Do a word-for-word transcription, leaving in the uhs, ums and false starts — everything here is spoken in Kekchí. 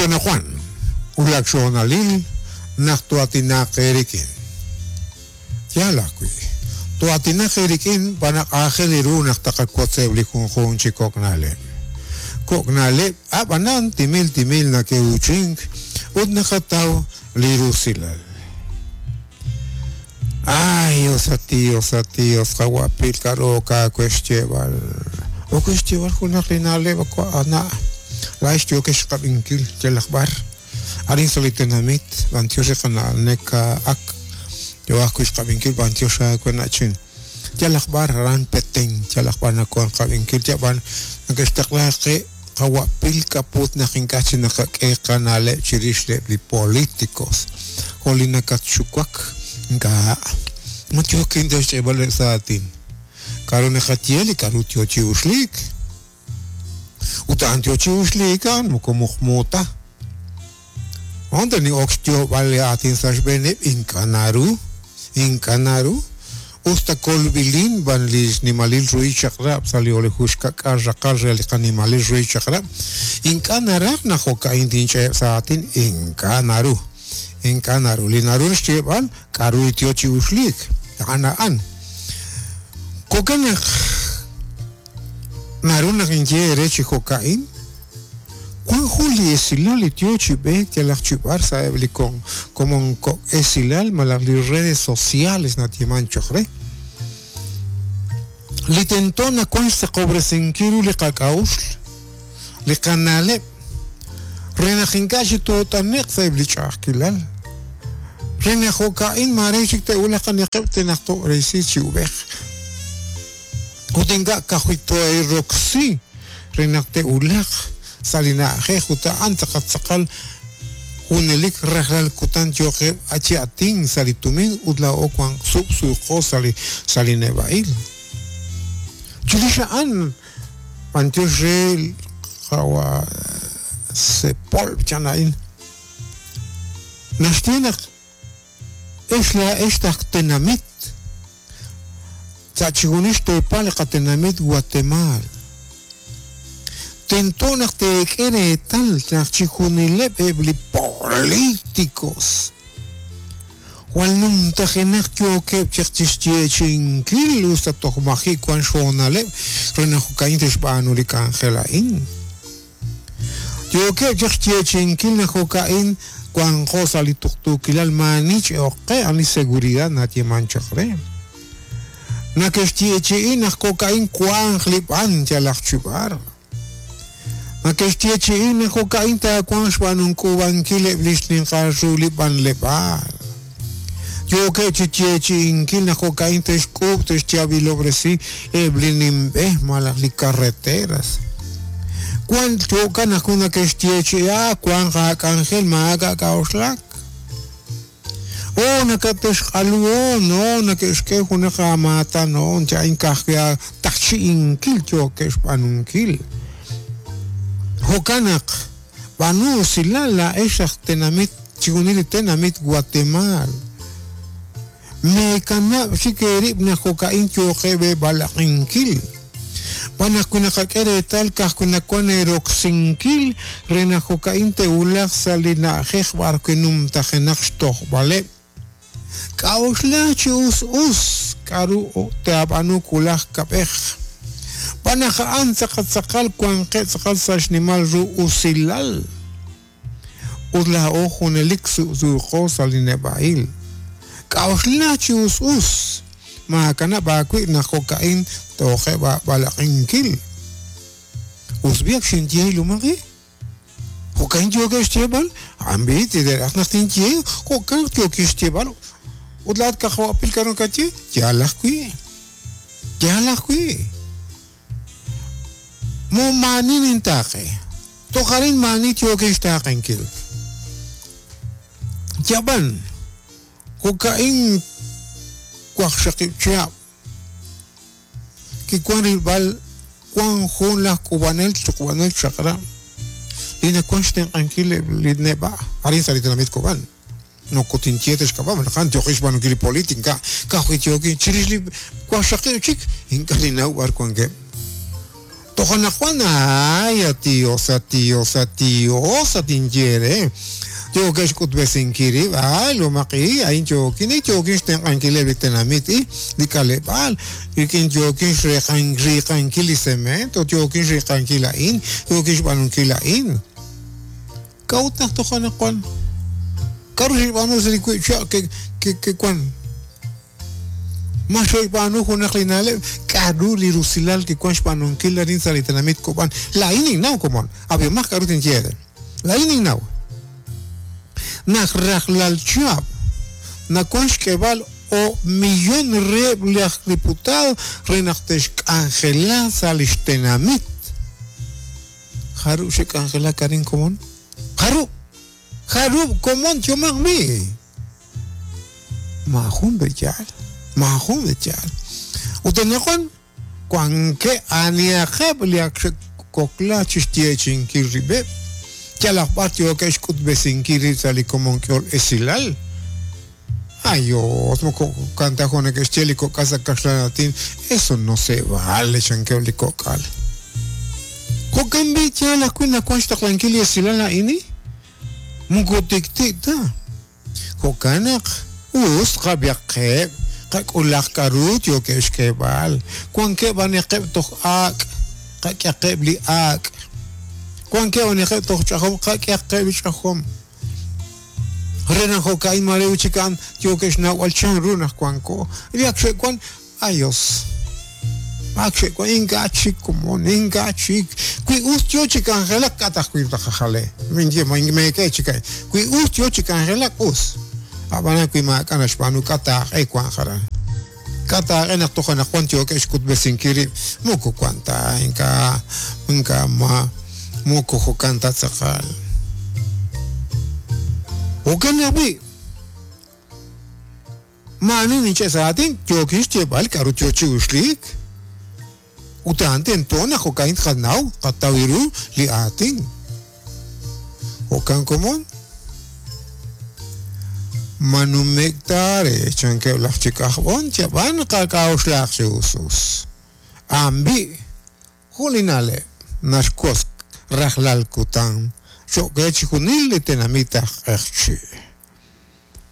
Anaqwan wulak xhoonalil naq toatinaq eerik'in. Yaal ajwi', toatinaq eerik'in b'an naq aajel ru naq taqawotzeb' li junjunq chi kok' na'leb'. Kok' na'leb' ab'anan timil timil nake'uuchink ut naqataw li rusilal. Ay, osati, osati, osqawapil k'aru kaawe xyeeb'al. Ok xyeeb'al junaq li na'leb' ana' laa'ex yookex xqab'inkil yalaq b'ar. Arin sa' li tenamit b'antiox li qana'leb' ak yo ajwi' xqab'inkil b'antiox aawe na'chin. Yalaq b'ar aran Petén, yalaq b'ar nawank qab'inkil yab'an nake'xtaqla qe qawapil k'aput naq ink'a' chi naqak'e qana'leb' chirix li políticos. Jo' li nakatxuwak ink'a' ma yookin ta xch'eeb'al sa' aatin. K'aru naqaye li k'aru yo chi uxliik. Ut a'an yo chi uxliik a'an moko muqmu ta. Onde ni'ok xyoob'al li aatin sa' xb'eeneb' ink'a' naru, ink'a' naru. Usta kolb'ilin b'an li xnimalil ruhil chaq'rab' sa' li oleju xkak'al raqal re li qanimalil ruhil chaq'rab'. Ink'a' naraj naq jo'ka'in tinch'eeb' sa' aatin, ink'a' naru. Ink'a' naru. Li naru xyeeb'al k'aru li yo chi uxliik. A'an a'an. Jo'kan naq naru naq inye eere chi jo'ka'in, wan jun li esilal li yo chi b'eek yalaq chi b'ar sa'eb' li komon kok' esilal malaj li redes sociales natieman choq re. Li tento nawan xsaqob'resinkil ru li qak'a'uxl, li qana'leb', re naq ink'a' chi toot'ane'q sa'eb' li ch'a'ajkilal. Re naq jo'ka'in maare chik te'wulaq qanaqeb' te naq to'resi chi ub'ej. Ut ink'a' ka'ajwi' to'eroksi re naq te'wulaq sa' li na'ajej ut a'an tz'aqal junelik rajlal kutan yooqeb' chi atin sa' li tumin ut laa'o wan sub'suuqo sa' li sa' li neb'a'il. Chirix a'an b'antiox re qawa Sepol chan a'in. Naxye naq ex laa'ex taj tenamit sa' chijunil xteepal li qatenamit Guatemala. Tento naq teek'e reetal naq chijunileb' eb' li políticos jwal numtajenaq yookeb' chaq chixyeechi'inkil usta toj maji' wan xhoonaleb' re naq jo'ka'in te'xb'aanu li k'anjel a'in. Yookeb' chaq xyeechi'inkil naq jo'ka'in wanqo sa' li tuqtuukilal maani ch'oqe a'an li seguridad natieman chaq re. Nake'xyeechi'i naq jo'ka'in wanq li b'an yalaq chi b'ar. Nake'xyeechi'i naq jo'ka'in taawanq xb'aanunk'uub'ankil eb' li xninqal ru li b'anleb'aal. Yookeb' chi yeechi'inkil naq jo'ka'in te'xk'uub' te'xyaab'ilob'resi eb' li nimb'ej malaj li carreteras. Wan jo'kan naq nake'xyeechi'i wanq aak'anjel maak'a' k'a'uxlak. O nakate'xq'aluon, no nake'xk'e junaq aamaatan, no cha'in ka'ajwi' taqchi'inkil yookeb' xb'aanunkil. Jo'kan naq b'aanu usilal laa'ex aj tenamit chijunil li tenamit Guatemala. Meekanab' chik eerib' naq jo'ka'in yooqeb' eeb'alaq'inkil. B'an naq naqak'e reetal ka'ajwi' nawan eeroksinkil re naq jo'ka'in te'wulaq sa' li na'ajej b'arwi' numtajenaq xtojb'aleb'. K'a'uxla chi us us k'aru taab'aanu wulaj kab'ej. B'an naq a'an tz'aqal tz'aqal wanqeb' tz'aqal sa' xnimal ru usilal. Ut laa'o junelik suuqo sa' li neb'a'il. K'a'uxla chi us us maakanab' aawib' naq jo'ka'in tooqeb' aab'alaq'inkil. Us biak xinye lumaqi. Jo'ka'in yookeb' xyeeb'al, a'an b'i tideraj naq tinye, jo'kan yookeb' xyeeb'al. Ut laa'at kajwapil k'aru kaye, yaal ajwi'. Yaal ajwi'. Mo maani nintaaqe. Toj arin maani yookeb' xtaaqenkil. Yab'an, jo'ka'in waqxaqib' chihab'. Kiwan rilb'al wan jun laj k'ub'anel chuqb'anel chaq'rab'. Li nawan xtenq'ankil li neb'a' arin sa' li tenamit Kob'an. No kotinye te'xk'ab'a' naq a'an yooqeb' xb'aanunkil li política ka'ajwi' yookin chirix li waqxaqib' chik ink'a' ninnaw b'ar wankeb'. Toj anaqwan ay a Dios a Dios a Dios atinye re yookeb' xk'utb'esinkil rib' ay lomaqi ayin yookin i yookin xtenq'ankileb' li tenamit i li k'aleb'aal rik'in yookin xriqan riqankil li cemento yookin xriqankil a'in yookin xb'aanunkil a'in k'a'ut naq toj anaqwan k'aru xb'aanu sa' li wiib' chihab' ke ke kewan ma xe'xb'aanu junaq li na'leb' k'aru li rusilal kiwan xb'aanunkil arin sa' li tenamit Kob'an laa'in ninnaw komon ab'ihomaj k'aru tinye re laa'in ninnaw naq rajlal chihab' nawan xk'eeb'al o millón reheb' laj diputado re naq te'xk'anjela sa' li xtenamit jarub' xe'k'anjelak arin komon jarub' jarub' komon chomaj mi majun b'eyaal majun b'eyaal ut anaqwan wankeb' aniaqeb' li ak xe'kokla chixyeechi'inkil rib'eb' yalaq b'ar yookeb' xk'utb'esinkil rib' sa' li komon k'ehol esilal ayos moko kanta jo' neke'xye li kok'al sa' kaxlan aatin eso no se vale chankeb' li kok'al jo'kan b'i yaal ajwi' nawan xtaqlankil li esilal a'in moko tiktik ta jo'kan naq us qab'ihaqeb' qak'ulaq k'aru yookeb' xk'eeb'al wankeb' aniaqeb' toj ak' qak'ehaqeb' li ak' wankeb' aniaqeb' toj ch'ajom qak'ehaqeb' li ch'ajom re naq jo'ka'in mare wich a'an yookeb' xnawb'al chanru naq wanko li ak xe'wan ayos ak xe'wan ink'a' chik komon ink'a' chik wi us yo chi k'anjelak k'at ajwi' taqajale minye meek'e chik a'in wi us yo chi k'anjelak us ab'anan wi maak'a' naxb'aanu k'a taaq'e wan jaran k'a taaq'e naq toj anaqwan yookeb' xk'utb'esinkil rib' moko wan ta ink'a' ink'a' ma moko jo'kan ta tz'aqal jo'kan ajwi' maani ninche' sa' aatin yookin xyeeb'al k'aru yo chi uxliik ut a'an tento naq jo'ka'in tqanaw qataw ru li aatin jo'kan komon manumek tare chankeb' laj chik ajb'on chab'an qak'a'uxlaq chi us ambi jun li na'leb' naxkos rajlal kutan cho'q re chixjunil li tenamit aj q'eqchi'.